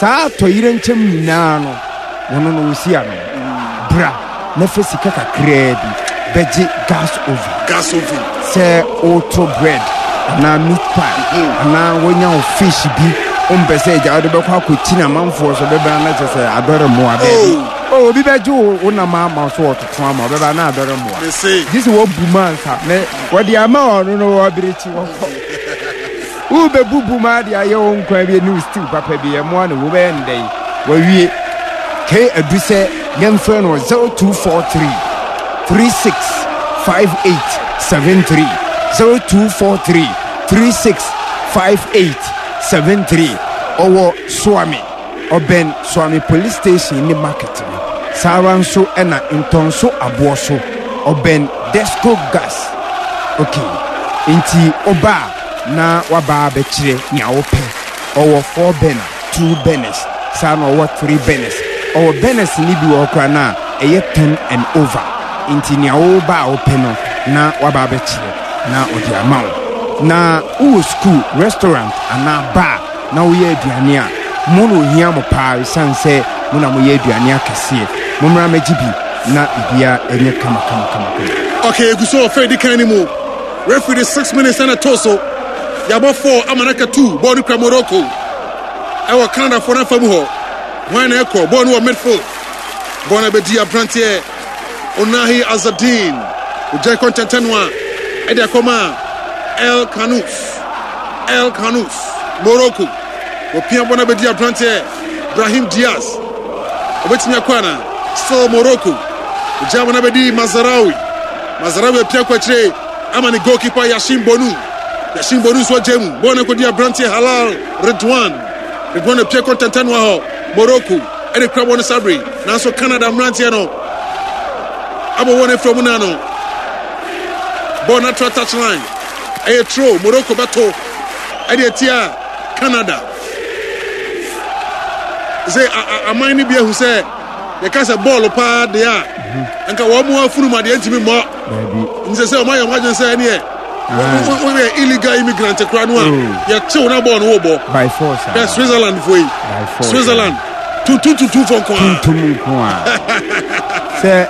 Saa atɔyerɛnkyɛm nyinaa no, wɔno no wɔsi ano. Bra na fa sika kakraa bi bɛgye gas oven. Gas oven. Sɛ woto bread anaa meat pie mhm. anaa wonya wo fish bi wompɛ sɛ agya wode bɛkɔ akɔkyi no amanfoɔ so bɛbɛn na kyɛ sɛ adɔre mmoa daabi. Oh. oh, obi bɛgye wo nam ama so wɔtoto ama ɔbɛba na adɔre mmoa. Gye sɛ wɔbu mu ansa na wɔde ama ɔno no wɔberekyi wɔkɔ. Worebebubu m'ade ayɛ wo nkwa bi ne wo stew papa bi, ɛmoa no, wobɛyɛ no dɛn? Wawie. Kay adu sɛ yɛmfrɛ no wɔ 0243 36 58 73, 0243 36 58 73. Ɔwɔ Suame, ɔbɛn Suame Police Station ne market no. Saa ara nso na Ntɔnso Aboɔ so, ɔbɛn Desco Gas. Okay, nti woba a, na waba abɛkyerɛ nea wopɛ. Ɔwɔ four burner, two burners, saa na ɔwɔ three burners. Ɔwɔ burners no bi wɔ hɔ koraa no a ɛyɛ ten and over. Nti nea woba a wopɛ no na waba abɛkyerɛ na ɔde ama wo. Na wowɔ sukuu, restaurant anaa bar na woyɛ aduane a, mo na ohia mo paa esiane sɛ mo na moyɛ aduane akɛseɛ. Mommra mmɛgye bi na biribiara nyɛ kama kama kama kama. Okay, egu so wɔ fɛ edi kan no mu. Referee de 6 minutes na ɛtoo so. Yɛabɔ 4 ama no aka 2. Bɔɔl no kura Morocco. Ɛwɔ Canada foɔ no afa mu hɔ. Hwan na ɛkɔ? Bɔɔl no wɔ midfield. Bɔɔl no abɛdi aberanteɛ Onahi Azadine. Ogyae kɔ ntɛntɛn no a ɛde akɔma El Khannouss. El Khannouss, Morocco. Wɔpia bɔɔl no abɛdi aberanteɛ Brahim Diaz. Obetumi akɔ ana? Still Morocco. Ogyae bɔɔl no abɛdi Mazraoui. Mazraoui apia kɔ akyire ama ne goalkeeper Yashin Bonu. Yashin Bonu nso agya mu. Bɔɔl no akɔdi aberanteɛ Halal Redouane. Redouane apia kɔ ntɛntɛnoa hɔ. Morocco ɛde kura bɔɔl no sabere. Nanso Canada mmeranteɛ no abɔ wɔn afira mu n'ano. Bɔɔl no atra touchline. Ɛyɛ throw. Morocco bɛto ɛde atia Canada. Sɛ aman no bi ahu sɛ yɛka sɛ bɔɔlo paa deɛ a mhm. nka wɔn mu afunu mu adeɛ ntumi mmɔ nsɛ sɛ wɔn ayɛ wɔn adwene sɛ ɛneɛ woyɛ illegal immigrant koraa no a oh. yɛkyew na bɔɔl no wobɔ by force ah. Switzerland foɔ yi Switzerland tuntum tuntum fo nko a tuntum nko a sɛ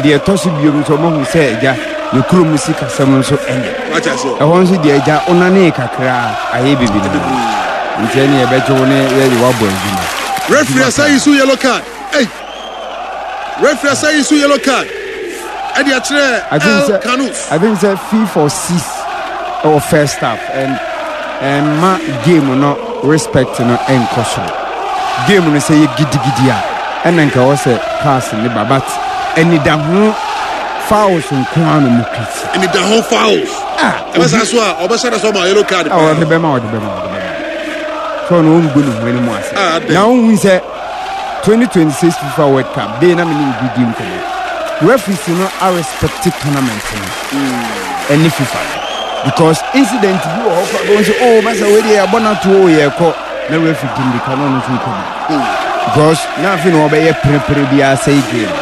deɛ ɛtɔ so biom nso ɔmahu sɛ agya ne kurom sikasɛm nso ɛnyɛ ɛhɔ nso deɛ agya wonanee kakra ayɛ bibi no nti ɛne yɛbɛgye wo ne yɛde woabɔ adwuma. Referee asa yi so yellow card. Hey. Referee asa yi so yellow card. Ɛde akyerɛ El Kanous. I think sɛ FIFA six ɛwɔ first half and ɛmma game no respect no ɛnkɔ soro. Game no sɛ yɛ gidigidi a ɛna nka ɛwɔ sɛ pass ne ba but anidaho fouls nko ara na ɔmo kriti. Anidaho fouls. Ah, ɛbɛsa so a ɔbɛhyɛ dɛ sɛ ɔma yellow card paa. Ɔde bɛma ɔde bɛma ɔde bɛma. Sɛ ɔno ɔngu ne ho anim ase. Ah, na wohu sɛ 2026 FIFA World Cup day na me ne obi di nkɔmmɔ. Referees no arespect tournament no hmm. ɛne FIFA no because incident bi wɔ hɔ kora bɛhu sɛ oh masa wei deɛ yɛabɔ no ato o yɛkɔ na referee di mmirika na ɔno nso kɔ bi because na afei na wɔbɛyɛ perepere bi asɛe game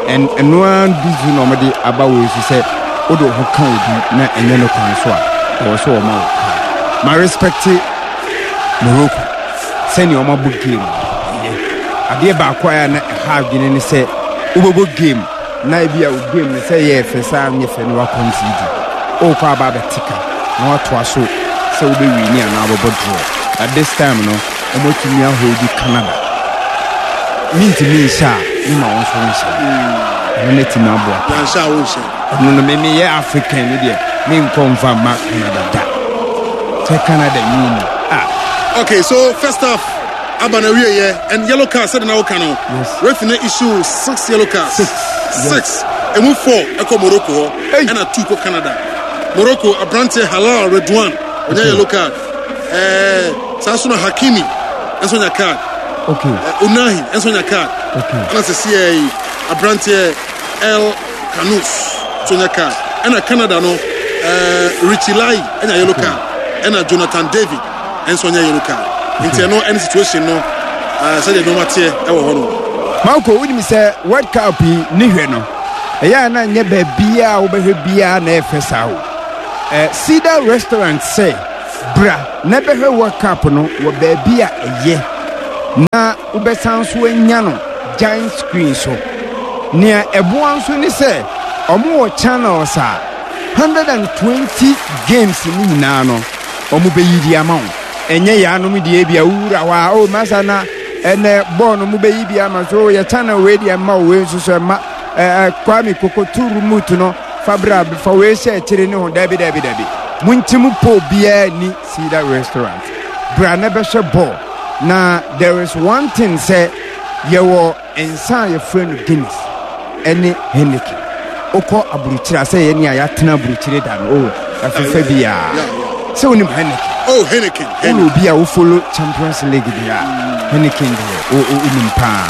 and ɛno ara bi so na wɔde aba wei so sɛ wode wo ho ka obi na ɛnyɛ no kwan so a ɛwɔ sɛ wɔma wo kaa ma respect Morocco sɛnea wɔabɔ game ɛyɛ adeɛ baako a na ɛha adwene ne sɛ wobɛbɔ game na ebi a wo game no sɛ ɛyɛ fɛ sɛ anyɛ fɛ no wakɔnsidi wokɔ aba abɛte ka na watoa so sɛ wobɛwini anaa wobɛbɔ draw but this time no wɔatumi aholdi Canada mentumi nhyɛ a mema wo nso nhyɛ ɛno no atumi aboa paa ɛno no me meyɛ African no deɛ menkɔ mfa mma Canada da sɛ Canada ni ni ah. Okay, so first half aba na wie yɛ and yellow card sɛde na woka no refi na issue six yellow cards six six emu four ɛkɔ Morocco hɔ ɛna two kɔ Canada Morocco aberanteɛ Halal Redouane ɔnya yellow card ɛɛ saa so na Hakimi nso nya card okay Unahi nso nya card okay ɛna sɛ siɛ yi aberanteɛ El Khannouss nso nya card ɛna Canada no ɛɛ Richie Lai ɛnya yellow card ɛna Jonathan David nso nya yellow card nti ɛno ɛne situation no ɛɛ sɛdeɛ nneɛma teɛ ɛwɔ hɔ no. Marco wonim sɛ World Cup yi ne hwɛ no ɛyɛ a na nyɛ baabiaa wobɛhwɛ biaa na ɛfɛ saa o. Eh, Cedar Restaurant sɛ bra na bɛhwɛ World Cup no wɔ baabi a ɛyɛ. Na wobɛsan nso anya no giant screen so. Nea ɛboa nso ne sɛ wɔwɔ channels a 120 games no nyinaa no wɔbɛyi de ama wo. Ɛnyɛ yɛanom deɛ bi a wowura hɔ a oh masa na ɛnɛ bɔɔl no mobɛyi bi ama so oh, yɛ channel wei deɛ mma wei nso so ɛma ɛɛ Kwame kokoto remote no fa bra fa wei hyɛ akyire ne ho dabi dabi dabi monkyim po biara ni Cedar restaurant bra na bɛhwɛ bɔɔl na there is one thing sɛ yɛwɔ nsa a yɛfrɛ no Guinness ɛne Heineken wokɔ aburukyire a sɛ yɛne a yɛatena aburukyire da no o ɛfefɛ biara sɛ wonim Heineken oh Heineken wowɔ obi a wofolo Champions League deɛ a Heineken deɛ wonim paa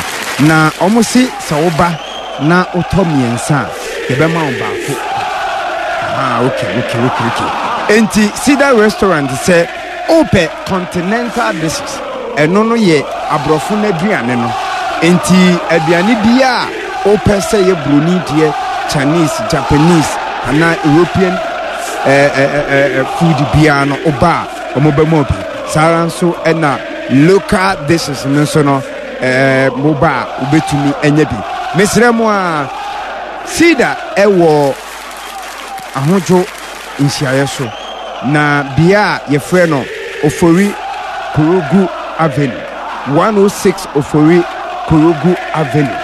na ɔmo se sɛ woba na wotɔ mmiɛnsa a, yɛbɛma wo baako. Ah, okay, okay, okay, okay. Enti Cedar Restaurant sɛ wopɛ continental dishes, ɛno no yɛ aborɔfo no aduane no. Enti aduane bi a wopɛ sɛ yɛ buroni deɛ, Chinese, Japanese, anaa European eh, eh, eh, eh food biara no, woba a wɔbɛma bi. Saa ara nso ɛna local dishes no nso no, Ɛɛ mo ba a wobɛtumi anya bi. Mesrɛ mo a, Cedar ɛwɔ Ahodwo nhyiaeɛ so, na bea a yɛfrɛ no Ofori Korogu Avenue, 106 Ofori Korogu Avenue.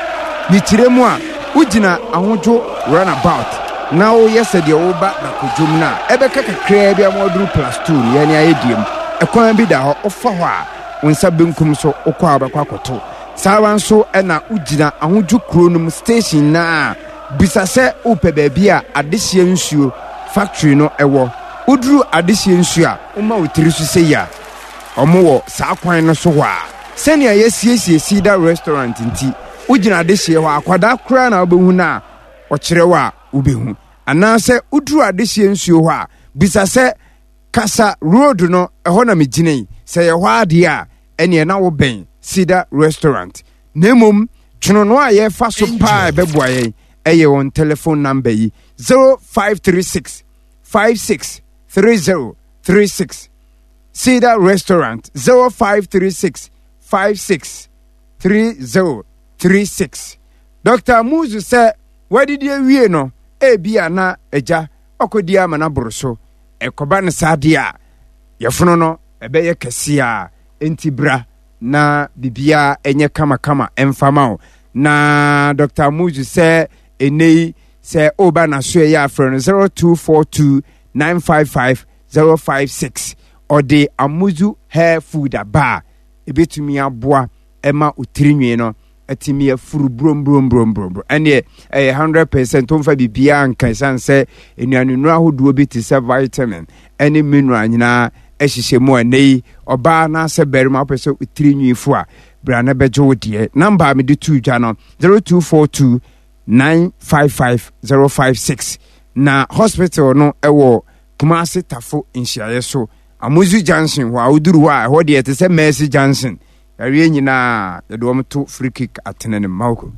Ne kyerɛ mu a, wogyina Ahodwo runabout na woyɛ sɛ deɛ woba Dakodwom no a, ɛbɛka kakraa bi ama waduru Plus 2 no, yɛne ayɛ diem. Ɛkwan bi da hɔ, wofa hɔ a, wo nsa benkum so wokɔ a wobɛkɔ akɔto. Saa ara nso na wogyina Ahodwo kuro no mu station no a, bisa sɛ wopɛ baabi a adehyeɛ nsuo factory no wɔ. Woduru adehyeɛ nsuo a, woma wo tiri so sei a, wɔwɔ saa kwan no so hɔ a. Sɛnea yɛasiesie Cedar Restaurant nti, wogyina adehyeɛ hɔ a, akwadaa koraa na wobɛhu no a ɔkyerɛ wo a wobɛhu. Anaasɛ woduru adehyeɛ nsuo hɔ a, bisa sɛ Kasa road no ɛhɔ na megyina yi, sɛ ɛyɛ hɔ ara deɛ a, ɛneɛ na wobɛn Cedar Restaurant. Na mmom twonono a yɛfa so paa a ɛbɛboa yɛn ɛyɛ wɔn telephone number yi, 0536 56 3036. Cedar Restaurant, 0536 56 3036. Dr. Muzu sɛ wadidi awie no, ebia na agya ɔkɔdi ama no aboro so. Ɛkɔba no saa deɛ a, yɛfono no ɛbɛyɛ kɛseɛ a, enti bra na biribiara ɛnyɛ kamakama ɛmfa ma wo. Na Dr. Amuzu sɛ ɛnɛ yi sɛ woba n'aso ɛyɛ afrɛ no 0242 955 056. Ɔde Amuzu hair food aba a ɛbɛtumi aboa ɛma wo tirinwi no atumi afuru brombrombrombrombrɔ. Ɛneɛ ɛyɛ 100% womfa biribiara nka ɛsiane sɛ nnuanennuro ahodoɔ bi te sɛ vitamin ɛne mineral nyinaa ɛhyehyɛ mu a ɛnɛ yi ɔbaa anaasɛ barima wopɛ sɛ tiri nwi fo a bra na bɛgye wo deɛ. Namba a mede too dwa no 0242 955 056 na hospital no ɛwɔ Kumasi Tafo nhyiaeɛ so Amuzu Junction hɔ a woduru hɔ a ɛhɔ deɛ ɛte sɛ Mercy Junction. Yareɛ nyinaa yɛde wɔn to free kick atene no Mawko.